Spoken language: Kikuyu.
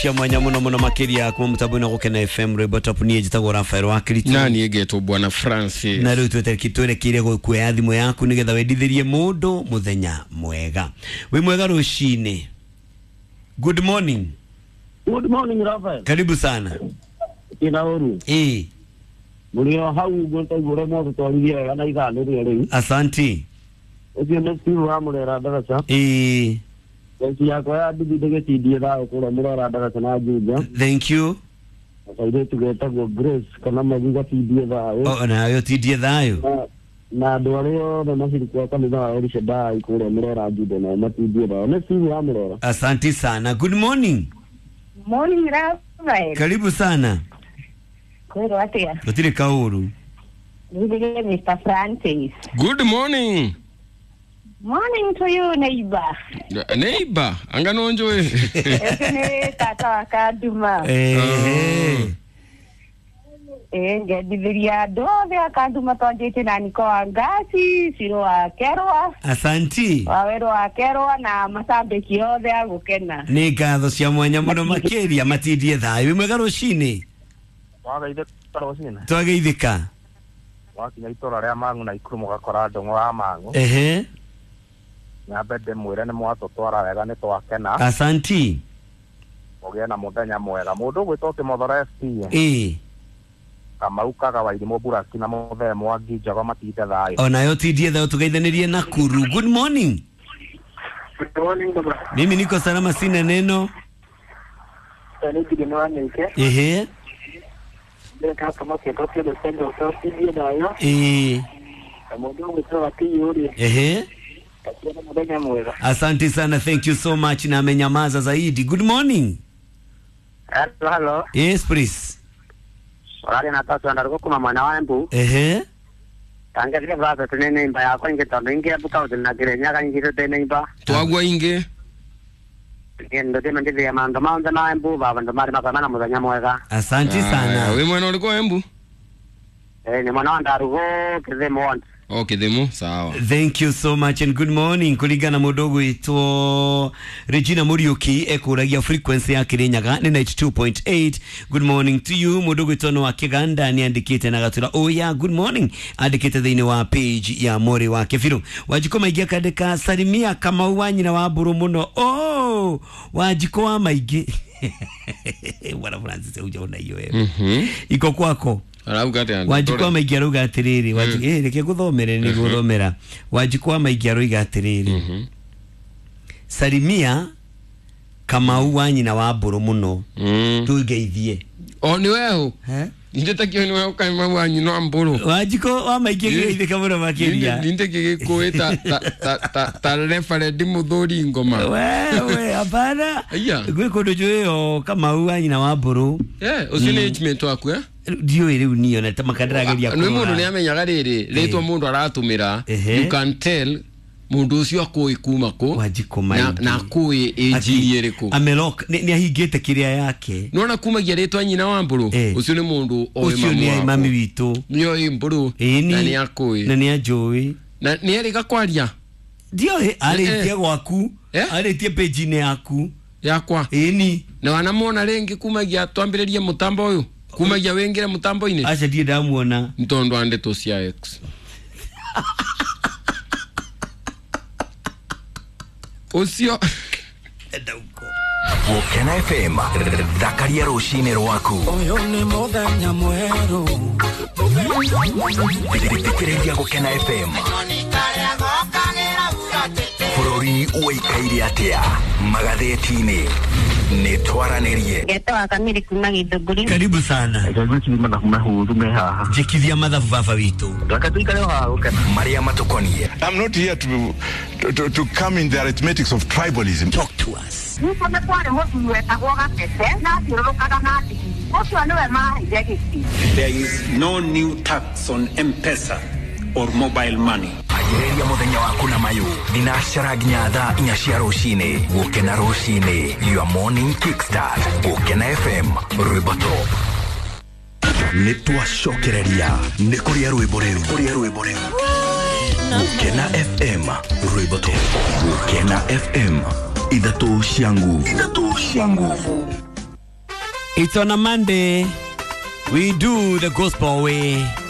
Cia mwanya muno muno makiria kuma mutambo na Gukena FM rwimbo top niĩ njĩtagwo Rafael wa Kristo na niĩ ngetwo Bwana Francis na rĩu twerekeire gũkuoya thimũ yaku nĩgetha wendithĩrie mũndũ mũthenya mwega. Wĩ mwega rũcinĩ. Good morning. Good morning Rafael. Karibu sana. Ina ũru. Ĩĩ. Mũrĩ o hau ũguo taiguo ũrĩa mwatũtwarithia wega na ithaa nĩrĩo rĩu. Asanti. Ũcio nĩ Steve wa Mũrera Ndaraca. Ĩĩ. Bengi yakwa ya nduthi ndĩgĩtindie thayũ kũrĩa Mũrera Ndaraca na Juja. Thank you. Na kairĩtu getagwo Grace kana Magi gatindie thayũ. O nayo tindie thayũ. Na andũ arĩa othe maciriki wa kanitha wa El Shaddai kũrĩa Mũrera Juja nao matindie thayũ. Nĩ Steve wa Mũrera. Asanti sana. Good morning. Morning Rafael. Karibu sana. Kwĩrwo atĩa? Gũtirĩ kaũru. Nĩthĩge Mr. Francis. Good morning. Morning to you neighbor. Neighbor, anga nonjoe. Ũcio nĩ tata wa Kanduma. Ehe. Ĩĩ ngendithĩria andũ othe a Kanduma twanjĩtie na Niko wa Ngasi, Ciro wa Kerwa, Asanti. Wawerũ wa Kerwa na macambĩki othe a Gũkena. Nĩ ngatho cia mwanya mũno makĩria matindie thayũ. Wĩ mwega rũcinĩ. Wagaithĩka rũcinĩ. Twageithĩka. Wakinya itũra rĩa Mang'u na Ikuru mũgakora ndũng'ũ wa Mang'u. Ehe. Nyambe ndĩmwĩre nĩ mwatũtwara wega nĩ twakena. Asanti. Mũgĩe na mũthenya mwega. Mũndũ ũgwĩtwo Kĩmothoro FC. Ĩĩ. Kamau Kaga wa Irimũ Buraki na Mũthee Mwangi Njogo matinde thayũ. Onayo tindie thayũ tugeithanĩrie Nakuru. Good morning. Good morning baba. Mimi niko salama sina neno. Nĩ Gideon wa Nĩke. Ehe. Ndĩreka kama kĩndũ kĩndũ kĩndũ kĩndũ thayũ. Ĩĩ. Na mũndũ ũgwĩtwo Gakiyũ-rĩ, Ehe. akĩona mũthenya mwega. Asante sana, thank you so much na amenyamaza zaidi. Good morning. Hello, hello. Yes, please. Ũraria na Tatu Andarugo kuma mwena wa Embu. Ehe. Tangerie brother tene neighbor yakwa ingĩ tondũ ingĩ Embu kaunti na Kirinyaga ingĩ tũtĩ neighbor. Twagwa ingĩ. Ndũthime ndithie maũndũ mothe ma Embu baba andũ marĩ makwema na mũthenya mwega. Asante sana. Wĩ mwena ũrĩkũ Embu? Nĩ mwena wa Ndarugo Kĩthimo ward. O Kĩthimo, sawa. Thank you so much and good morning. Kulingana mũndũ ũgwĩtwo Regina Muriuki ekũragia frequency ya Kirinyaga nĩ 92.8. Good morning to you. Mũndũ ũgwĩtwo no wa Kĩganda nĩ andĩkĩte na gatura oh yeah, good morning. Andĩkĩte thĩinĩ wa page ya Mori wa Kĩbirũ. Wanjikũ Maingĩ akandĩka salimia Kamau wa nyina wa mbũrũ mũno. Oh, Wanjikũ wa Maingĩ. Bwana Francis hujaona hiyo wewe. Iko kwako. Arauga atĩa? Wanjikũ wa Maingĩ arauga atĩrĩrĩ, reke ngũthomere nĩ gũthomera. Wanjikũ wa Maingĩ aroiga atĩrĩrĩ, salimia Kamau wa nyina wa mbũrũ mũno, tũngeithie. O nĩ weho. Nindĩtakio nĩ weho Kamau wa nyina wa mbũrũ. Wanjikũ wa Maingĩ geithĩka mũno makĩria. Nindĩkĩgĩkũĩ ta referendi mũthũri ngoma. Wewe hapana. Aya. Gwĩ kũndũ njũĩ o Kamau wa nyina wa mbũrũ. Ũcio nĩ age mate waku eh? Ndiũĩ rĩu niĩ ona makandĩrageria Nĩ mũndũ nĩ amenyaga rĩrĩ rĩtwa mũndũ aratũmĩra, you can tell mũndũ ũcio akũĩ kuma kũ Wanjikũ na Maingĩ. na akũĩ age ĩrĩkũ. Amelok nĩ ahingĩte kĩrĩa yake. Nĩwona kumagia rĩtwa nyina wa mbũrũ, ũcio nĩ mũndũ oĩ Ũcio nĩ mamu mami waku. witũ. Nĩ oĩ mbũrũ Ĩni. na nĩ akũĩ. Na nĩ anjũĩ. Na nĩ erĩga kwaria. Ndiũĩ arĩtie gwaku, arĩtie page-inĩ yaku. Yakwa. Ĩni. Na wanamwona rĩngĩ kumagia twambĩrĩrie mũtambo ũyũ? Kumagia wĩingĩre mũtambo-inĩ? Aca ndirĩ ndamuona. Nĩ tondũ wa ndeto cia X. Ũcio. Gukena FM thakaria rũcinĩ rwaku. Ũyũ nĩ mũthenya mwerũ. Thikĩrĩria Gukena FM. Bũrũri ũikaire atĩa magathĩti-inĩ nĩ twaranĩrie. Ngetwo wa Kamiri kuma Gĩthũngũri. Karibu sana. Mathabu mahũthũ me haha. Njĩkithia mathabu baba witũ. Reke tũikare o haha Gũkena. Marĩa matũkoniĩ. I'm not here to come in the arithmetics of tribalism. Talk to us. Nĩkuo nĩ kwarĩ mũthuri wetagwo Gatete na athiũrũrũkaga na ndigiri. Ũcio nĩwe maheire gĩtĩ. There is no new tax on M-Pesa or mobile money. Anjĩrĩria mũthenya waku na mayũ thinacara nginya thaa inya cia rũcinĩ. Gũkena rũcinĩ, your morning kickstart. Gũkena FM, rwĩmbo top. Nĩ twacokereria nĩ kũrĩa rwĩmbo rĩu. Kũrĩa rwĩmbo rĩu. Gũkena FM, rwĩmbo top. Gũkena FM, ithatũ cia nguvu. Ithatũ cia nguvu. It's on a Monday. We do the gospel way.